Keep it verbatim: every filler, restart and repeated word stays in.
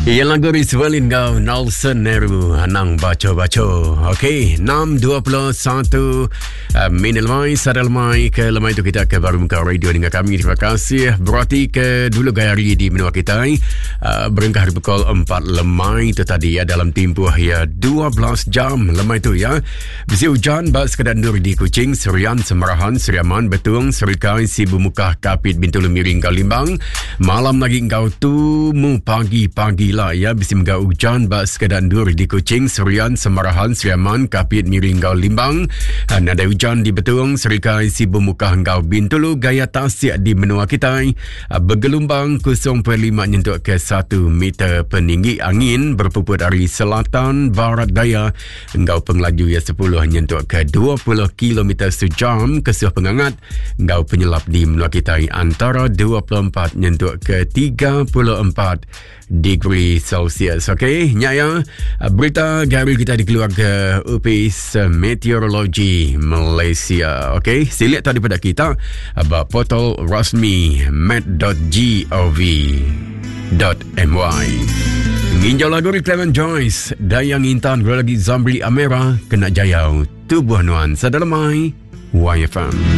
Ia lagu Rizwalin kau Nelson Neru Anang baca-baca. Okey, enam dua puluh satu uh, minit lemai, sadar lemai ke lemai itu kita ke baru muka radio dengan kami. Terima kasih. Berarti ke dulu gaya hari di menua kita uh, berengkah hari pukul empat lemai itu tadi ya, dalam tempoh ya dua belas jam lemai itu ya. Bisi hujan bak sekadar nur di Kuching, Serian, Semarahan, Seriaman, Betung, Serikai, Sibu Mukah, Kapit, Bintulu, Miring, Limbang. Malam lagi engkau tumu pagi-pagi lah ya, bisi menggau hujan bak sekadar ndur di Kuching, Serian, Semarahan, Seriaman, Kapit, Miring, Gau Limbang. Ada hujan di Betung, Serikai, Sibu Mukah, Gau Bintulu. Gaya tasik di menua kita bergelombang kosong perpuluhan lima nyentuk ke satu meter peninggi. Angin berpuput dari selatan barat daya engkau pengelaju ya sepuluh nyentuk ke dua puluh kilometer sejam. Kesuh pengangat engkau penyelap di menua kita antara dua puluh empat nyentuk ke tiga puluh empat degree Celsius. Okey, nyaya berita gari kita dikeluar ke Upis Meteorologi Malaysia. Okey, silik tadi pada kita about portal rasmi met dot gov dot my. Nginjau lagu Clement Joyce, Dayang Intan, lagi Zamri Amera, Kena Jayau, Tubuh Nuan, Sadalamai, Y F M.